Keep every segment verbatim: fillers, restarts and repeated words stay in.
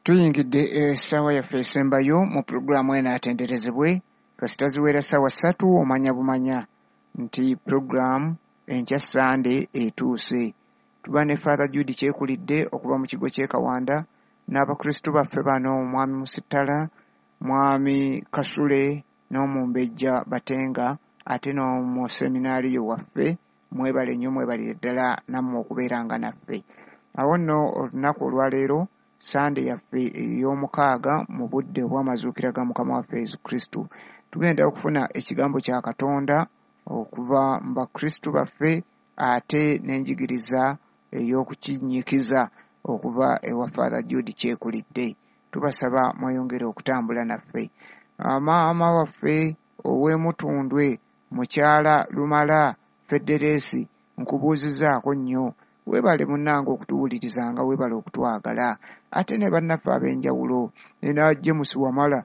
Tuyingidde essaawa yaffe esembayo mu pulogulaamu eno atenderezebwe. Kasita ziwera ssaawa ssatu omanya bumanya nti pulogulaamu enkya Ssande etuuse. Tuba ne Father Jude Kyekulidde okuva mu kigo ky'e Kawanda n'abakristu baffe bano, Mwami Musittala, Mwami Kasule n'Omumbejja Batenga, ate n'omuseminaariyo waffe. Mwebale nnyo, mwebalire ddala nammwe okubeeranga naffe. Awo nno olunaku olwaleero Ssande yaffe ey'omukaaga mu budde obw'amazuukira ga Mukama waffe Yesu Kristo. Tugenda okufuna ekigambo kya Katonda okuva mu bakristu baffe ate n'enjigiriza ey'okukinnyikiza okuva ewa Father Jude Kyekulidde. Tubasaba mweyongere okutambula naffe. Maama waffe ow'Emutundwe, Mukyala Lumala Federesi, nkubuuzizaako nnyo. Weebale munnange okutuwulirizanga, weebale okutwagala. Ate ne bannaffe ab'enjawulo, nina James Wamala,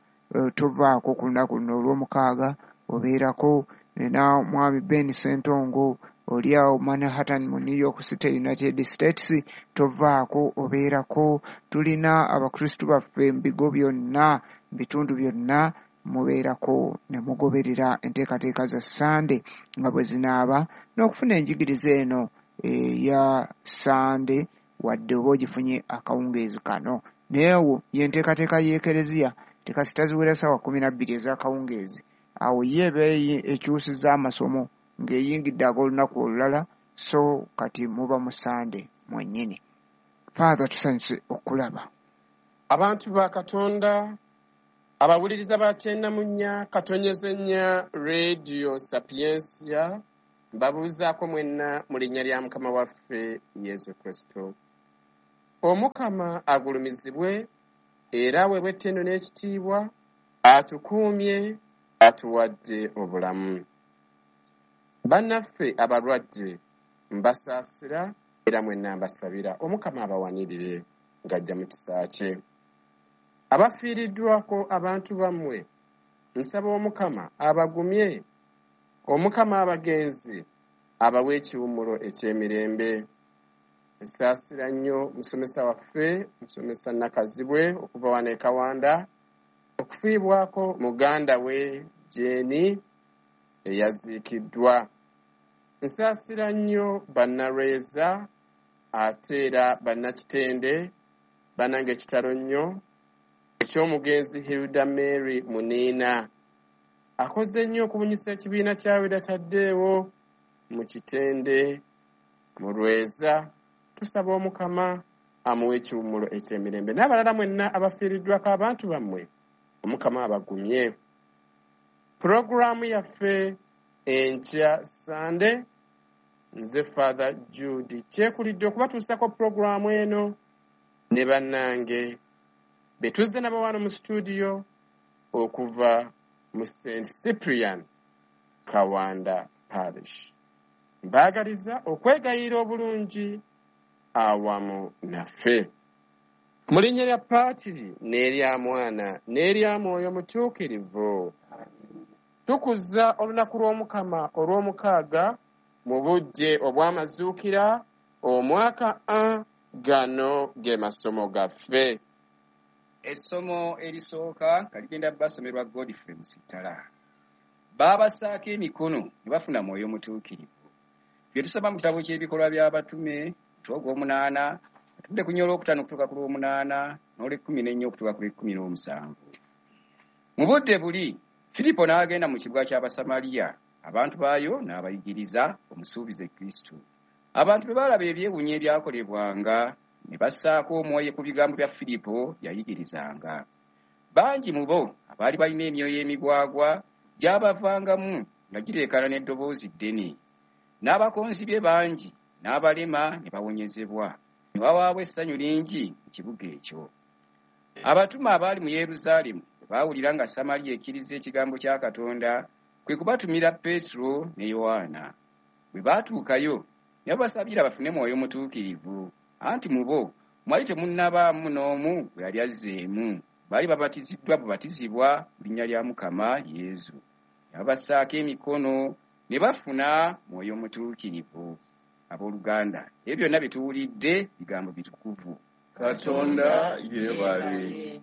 tovaako ku lunaku luno olw'omukaaga obeerako, nina Mwami Ben Ssentongo oli awo Manhattan mu New York City, United States, tovaako obeerako. Tulina abakristu baffe mu bigo byonna, mu bitundu byonna, mubeerako ne mugoberera enteekateeka za Ssande nga bwe zinaaba, n'okufuna enjigiriza eno eya Ssande wadde oba ogifunye akawungeezi kano. Naye awo y'enteekateeka y'Ekereziya tekasita ziwera ssaawa kkumi na bbiri ez'akawungeezi. Awo ye eba ekyusizza amasomo ng'eyingidde ag'olunaku olulala, so kati muba mu Ssande mwennyini. Father, tusanyuse okulaba. Abantu ba Katonda, abawuliriza ba kyenda mu nnya katonyeze nnya Radio Sapientia, mbabuuzaako mwenna mu linnya lya Mukama waffe Yesu Kristo. Omukama agulumizibwe era aweebwe ettendo n'ekitiibwa, atukuumye, atuwadde obulamu. Bannaffe abalwadde mbasaasira era mwenna mbasabira Omukama abawanirire ng'ajja mu kisa kye. Abafiiriddwako abantu bammwe nsaba Omukama abagumye, Omukama abagenzi abawe ekiwummulo eky'emirembe. Nsaasira nnyo musomesa waffe, musomesa Nakazibwe okuva wano e Kawanda, okufiibwako muganda we Jeeni eyaziikiddwa. Nsaasira nnyo bannalweza ate era bannakitende, bannange ekitalo nnyo eky'omugenzi Hilda Mary Muniina. Akoze nnyo okubunyisa ekibiina kya Weda Taddeewo mu Kitende mu Lweza. Tusaba Omukama amuwe ekiwummulo eky'emirembe. N'abalala mwenna abafiiriddwako abantu bammwe, Omukama abagumye. Pulogulaamu yaffe enkya Ssande, nze Father Jude Kyekulidde okubatuusako pulogulaamu eno ne bannange be tuzze nabo wano mu studio okuva mu Saint Cyprian Kawanda Parish. Mbaagaliza okwegayirira obulungi awamu naffe. Mu linnya lya Paatiri n'erya Mwana n'erya Mwoyo Mutuukirivu, tukuza olunaku lw'Omukama olw'omukaaga mu budde obw'amazuukira omwaka A. Gano ge masomo gaffe. Essomo erisooka nga ligenda basomerwa Godfrey Musittala. Baabassaako emikono ne bafuna Mwoyo Mutuukirivu. Bye tusoma mu kitabo ky'ebikolwa by'abatume, omutwe ogw'omunaana, atudde ku nnya olwokutaano okutuuka ku lw'omunaana n'olw'ekkumi n'ennya okutuuka ku lw'ekkumi n'omusanvu. Mu budde buli, Firipo n'agenda mu kibuga ky'Abasamaliya, abantu baayo n'abayigiriza omusuubize Kristo. Abantu bwe baalaba ebyewuunyo ebyakolebwanga, ne bassaako omwoyo ku bigambo bya Firipo yayigirizanga. Bangi mu bo abaali balina emyoyo emigwagwa gy'abavangamu nga gireekaana n'eddoboozi ddene. N'abakonzi bye bangi n'abalema ne bawonyezebwa. Ne wabaawo essanyu lingi mu kibuga ekyo. Abatume abaali mu Yerusaalemu bwe baawulira nga Samaliya ekkiriza ekigambo kya Katonda, kwe kubatumira Peetero ne Yowaana. Bwe baatuukayo ne babasabira bafune Mwoyo Mutuukirivu, anti mu bo mwali temunnabaamu n'omu gwe yali azzeemu. Baali babatiziddwa bubatizibwa mu linnya lya Mukama Yesu. Ne babassaako emikono ne bafuna Mwoyo Mutuukirivu. Abooluganda, ebyo byonna bye tuwulidde bigambo bitukuvu. Katonda yeebale.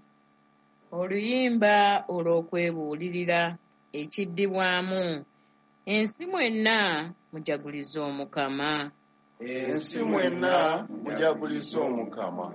Oluyimba olw'okwebuulirira ekiddibwamu. Ensi mwenna mujagulize Omukama. Ensi mwenna mujagulize Omukama.